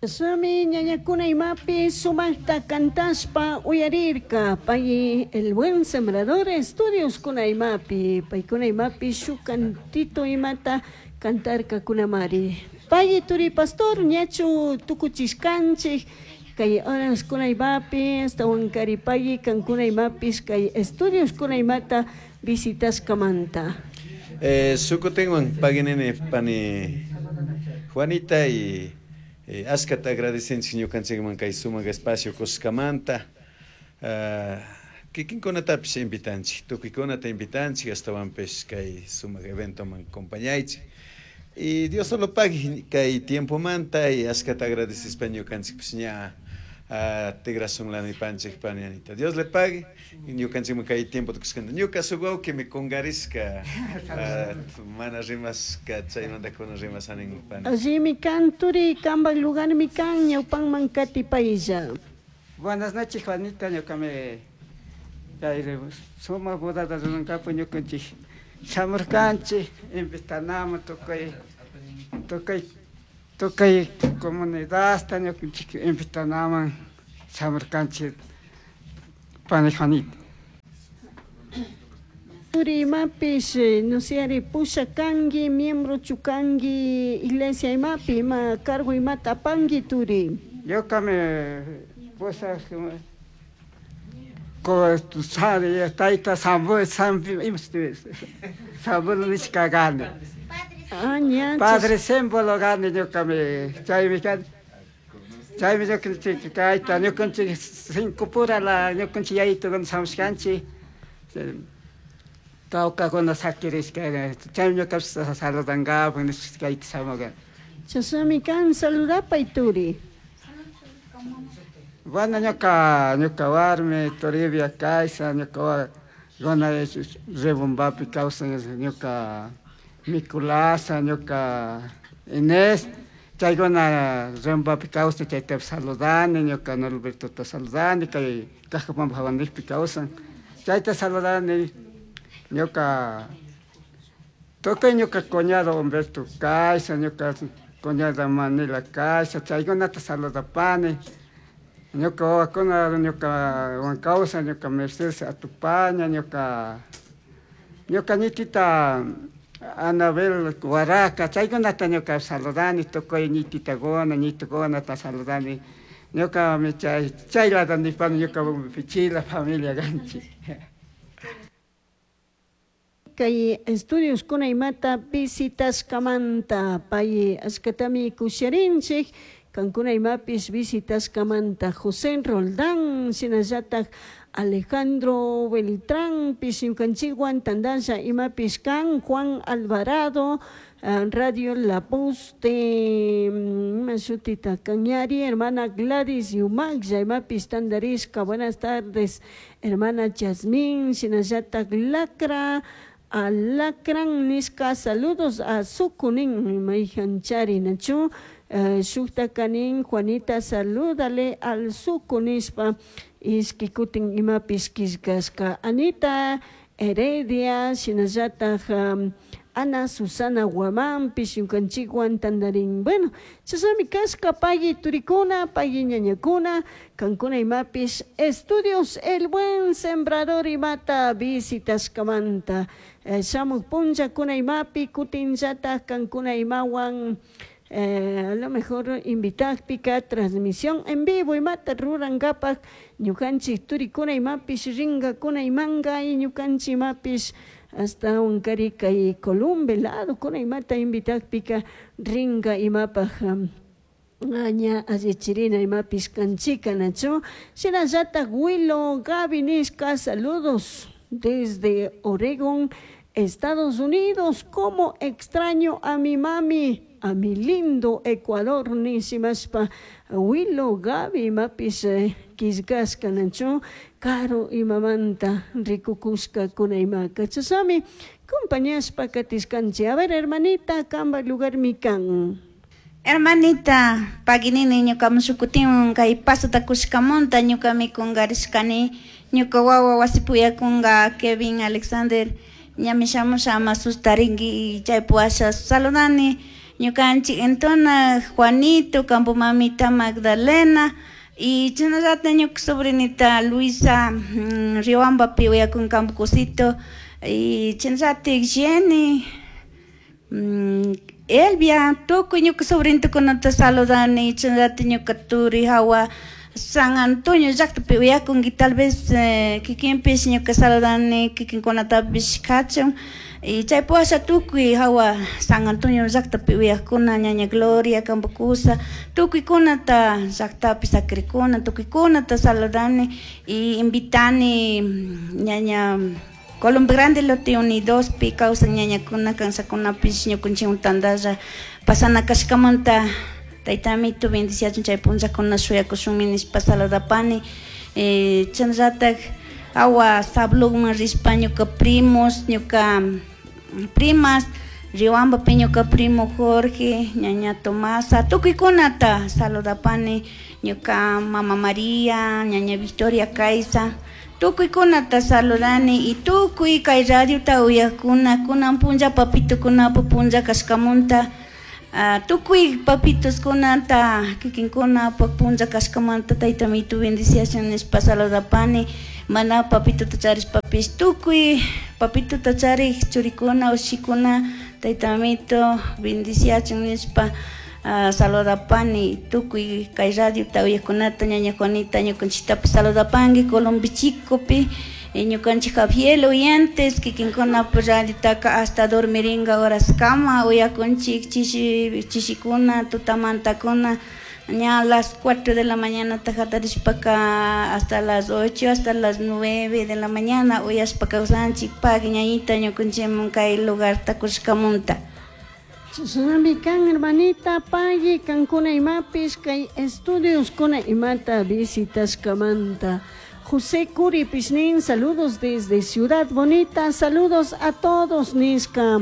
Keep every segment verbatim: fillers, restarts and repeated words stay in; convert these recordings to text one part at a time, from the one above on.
Sami ñañakuna imapi sumaqta cantashpa uyarirka pay El Buen Sembrador Estudios kuna imapi paykuna imapi shuk cantito imata cantarkakunamari. Pay turi pastor, ñachu tukuchishkanchik kay horas kuna imapi astawankari pay kankuna imapis kay estudios kuna imata visitashkamanta? Eh, sukutinwan paginini pani Juanita y eh, askata agradecenchik ñukanchikman kay sumaq espacio kuskamanta. Uh, kikinkunatapis invitanchik, tukuykunata invitanchik astawanpis kay sumaq eventoman acompañaychik. Y Dios solo pague kay tiempomanta y askata agradecespa ñukanchikpis ña uh, tigrasun lanipanchik pani Anita. Dios le pague ñukanchikman kay tiempo tukushkanta. Ñuka suk wawqimi kungarishka uh, mana rimaska chaymanta kunan rimasanin pani. Allimi kan turi, kanpak lugarmi kan ñawpanman katipaylla. Buenas noches, Juanita, ñuqami kay sumaq bodata rurankapu ñukanchik shamurkanchik invitanaman tukuy tukuy tukuy comunidadta ñukanchik invitanaman shamurkanchik pani Juanita. Turi imapish, no sé, ari pusha kanki, miembro chukanki, iglesia imapi, ima cargo imata apanki turi. Ñuqami pusha ko sari tayta sambu sambi símbolo nishka kani. Ah, ña, Padre símbolo kani ñuqami chaymi kani. Chaymi ñukanchik kayta ñukanchik cinco pura la ñukanchik yayitukuna shamushkanchik tawkakuna sakirishka chaymi ñukapish saludankapak nishpa kayta shamurkani. Chashnami kan, saludapay turi. Bueno, ñuka ñuka warmi Toribia Caiza, ñuka gona Rebombapi kawsan ñuka Miculasa, ñuka Inés, chaykuna Rebombapi kawsan chaytapish saludani, ñuka Norbertota saludani, kay Cajapampa hawanikpi kawsan, chayta saludani, ñuka tukuy ñuka cuñado Humberto Caiza, ñuka cuñada Manila Caiza, chaykunata saludapani. Ñuka wawakuna ñuka wan kawsan, ñuka Mercedes Atupaña, ñuka ñuka ñitita Anabel Guaraca, chaykunata ñuka saludani, tukuy ñititakuna, ñitukunata saludani. Ñuka chay chaylata nipani ñuka pichila familia kanchik. Kay estudios kuna imata visitashkamanta pay ashkatami kusharinchik kankuna imapis visitashkamanta José Roldán shinallatak Alejandro Beltrán pish ñukanchikwan tandalla imapis kan Juan Alvarado, Radio La Voz de ima shutita Cañari, hermana Gladys Yumaclla imapis tandarishka. Buenas tardes, hermana Yasmín, shinallatak Lacra Alacrán nishka, saludos a Sukunin mayhanchari nachu shukta kanin Juanita, salúdale al Suku nishpa ishki kutin imapis killkashka. Anita Heredia shinallatak um, Ana Susana Guamánpish ñukanchikwan tandarin. Bueno, chashnami kashka pagui turikuna, pagui ñañakuna, kankuna imapish Estudios El Buen Sembrador imata visitashkamanta. Eh, shamuk punllakuna imapi kutinllatak kankuna imawan eh, a lo mejor invitakpika transmisión en vivo imata rurankapak ñukanchik turikuna imapish rinkakuna imanka y ñukanchik imapish hasta unkari kay Columbe lado kuna imata invitakpika rinka imapak um, ña allichirina imapish kanchika nachu. Shinallatak Willow Gaby nishka, saludos desde Oregon, Estados Unidos, como extraño a mi mami, a mi lindo Ecuador nishimashpa Willow Gaby imapis eh, killkashka nachu karu imamanta rikukushka kuna imaka. Chashnami compañashpa katishkanchik. A ver, hermanita, kanpak lugarmi kan. Hermanita, paginini ñuka mushukutin kay pasota kushkamunta ñukami kungarishkani ñuka wawa wasipuyakunga Kevin Alexander ñami shamusha ama sustarinki chaypu asha saludani Ñukanchik entona Juanito, kampu mamita Magdalena y chashnallata ñuka sobrinita Luisa mm, Riobambapi uyakun kampu kusito y chashnallatik Jenny mm, Elvia tukuy ñuka sobrinitukunata saludani chashnallata ñuka turi hawa San Antonio llaktapi uyakunki tal vez eh, kikinpish ñuka saludani kikinkunatapish kachun y chaypi washa tukuy hawa San Antonio llaktapi uyakuna ñaña Gloria kampa kusa tukuykunata llaktapi sakirikuna tukuykunata saludani y invitani ñaña Colombia Grande lote Unidospi kawsan ñañakuna kansakunapish ñukanchikwan tantalla pasana kashkamanta tayta amito bendiciachun chay punllakuna shuyakushunmi nishpa saludapani eh, chashnallatak hawa Sablugman rishpa ñuka primos ñuka primas Riobambapi ñuka primo Jorge ñaña Tomasa tukuykunata saludapani ñuka mama María ñaña Victoria Caiza tukuykunata saludani y tukuy kay radiota uyakuna kunan punlla papitukunapa punlla kashkamunta uh, tukuy papituskunata kikinkunapak punlla kashkamanta tayta amito bendiciachun nishpa saludapani mana papituta charishpapish tukuy papituta charik churikuna ushikuna tayta amito bendiciachun nishpa uh, saludapani tukuy kay radiota uyakunata ñaña Juanita ñukanchiktapish saludapanki Colombi Chicopi ñukanchik Javier oyentes kikinkunapa radiotaka hasta dormiringa horaskama uyakunchik chishi chishikuna tutamantakuna ña a las cuatro de la mañana hatarishpaka hasta las ocho hasta las nueve de la mañana uyashpa kawsanchik pagui ñañita ñukanchikman kay lugarta kushkamunta. Chashnami kan hermanita pagui kankuna imapish kay estudios kuna imata visitashkamanta. José Curi Pishnin, saludos desde Ciudad Bonita, saludos a todos, nishka.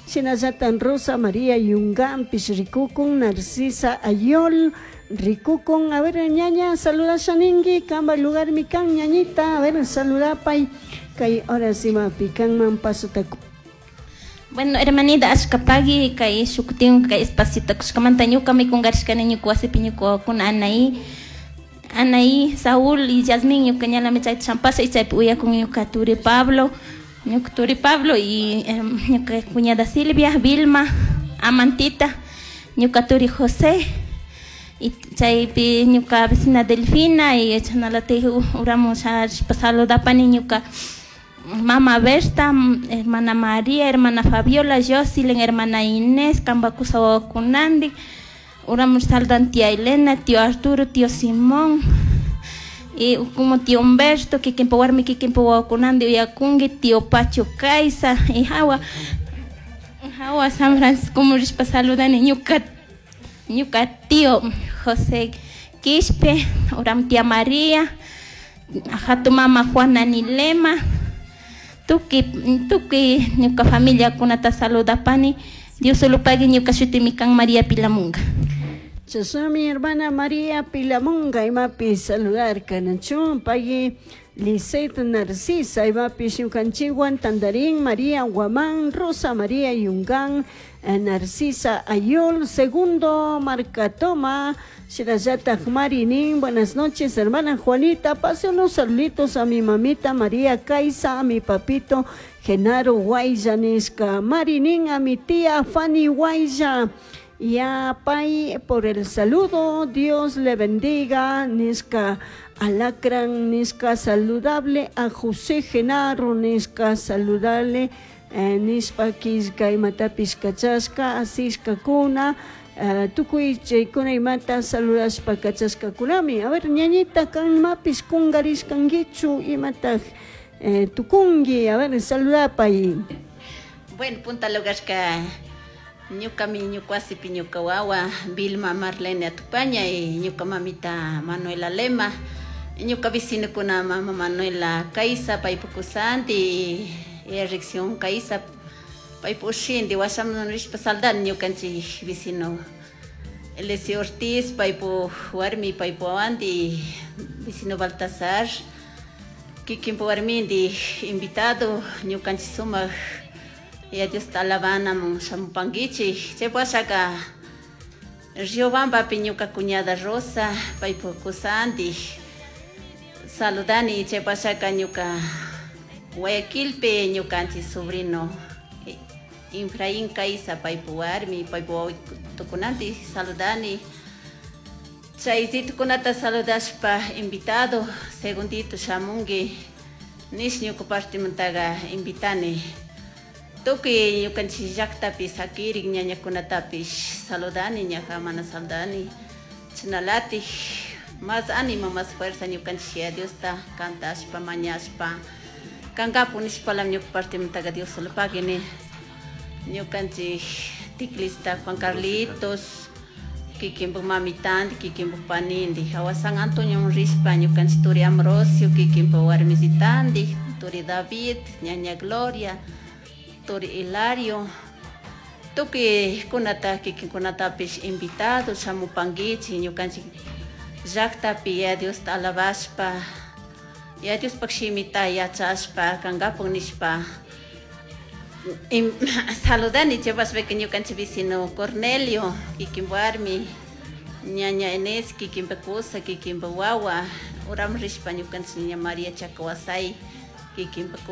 Shinallatan Rosa María Yungán, Pishrikukun, Narcisa Ayol, Rikukun, a ver, ñaña, saluda Shaningi, kamba lugar mi kan, ñañita, a ver, saluda pay, kay ahora sí ma pican man paso taku. Bueno, hermanita, ashkapagui, kay shukutin, kay espacito, kushkamanta ñuka mikungarishkani ñuka wasipi ñuka wawakuna Anaí, Anaí, Saúl y Yasmín ñuka ñalami chayta champasha y chaypi uyakun ñuka turi Pablo, ñuka turi Pablo y eh, ñuka cuñada Silvia, Vilma, Amantita, ñuka turi José y chaypi ñuka vecina Delfina y chashnalatik uramun rishpa saludapani ñuka mama Berta, hermana María, hermana Fabiola, Jocelyn, hermana Inés, kamba kusa wawakunandik, uramun saludan tía Elena, tío Arturo, tío Simón, y como tío Humberto, kikinpa warmi kikinpa wawakunandi uyakunki, tío Pacho Caiza, y hawa, hawa San Francisco rishpa saludani ñuka, ñuka tío José Quispe, uram tía María, hatun mama Juana Nilema, tukuy, tukuy ñuka familiakunata saludapani, Dios solo pagui ñuka shutimi kan María Pilamunga. Chashnami hermana María Pilamunga imapi saludar kanachun pagui Lisette Narcisa imapi ñukanchikwan Tandarín María Guamán Rosa María Yungán Narcisa Ayol Segundo Marcatoma Shirayatak Marinin, buenas noches hermana Juanita, pase unos saluditos a mi mamita María Caiza, a mi papito Genaro Guaya nishka, Marinin, a mi tía Fanny Guaya, y a Pai por el saludo, Dios le bendiga, nishka Alacrán, nishka saludable, a José Genaro, nishka saludable, eh, nishpa kishka imatapish kachashka, asishka kuna, Uh, tukuy chaykuna imata saludashpa kachashkakunami. A ver, ñañita, kanmapish kungarishkankichu imataj eh, tukunki, a ver, saludapay. Bueno, punta lugarka ñukami ñuka wasipi ñuka wawa Vilma Marlene Atupaña y ñuka mamita Manuela Lema, ñuka vecinokuna mama Manuela Caiza, paypa kusanti, Ericción Caiza, paypa ushinti washaman rishpa saldani ñukanchik vecino Elesio Ortiz, paypa warmi, paypa wawanti, vecino Baltasar, kikinpa warminti invitado ñukanchik sumak Yaya Diosta alabanamun shamupankichik. Chay washaka Riobambapi ñuka cuñada Rosa, paypuk kusantik saludani. Chay washaka ñuka Guayaquilpi ñukanchik sobrino Efraín Caiza, paypuk warmi, paypuk wawitukunantik saludani. Chay ritukunata saludashpa invitado segundito shamunki nish ñuka partemantaga invitani. Tukuy ñukanchik llaktapi sakirik ñañakunatapish saludani, ñaja mana saludani. Chashnalatik más ánimo, más fuerza ñukanchik Yaya Diosta cantashpa, mañashpa kankapu nishpalami ñuka partemantaga Dios solo pagui. Ñukanchik teclista Juan Carlitos, kikinpuk mamitandi, kikinpuk panindi, hawa San Antonio rishpa ñukanchik turi Ambrosio, kikinpuk warmisitandi, turi David, ñaña Gloria, turi Hilario, tukuy kunata kikinkunatapish invitado shamupankichik ñukanchik llaktapi Yaya Diosta alabashpa, Yaya Diospak shimita yachashpa kankapuk nishpa saludani. Chaypashpaka ñukanchik vecino Cornelio, kikin warmi, ñaña Inés, kikinpak kusa, kikinpak wawa, uraman rishpa ñukanchik ñaña María Chacawasay, kikinpak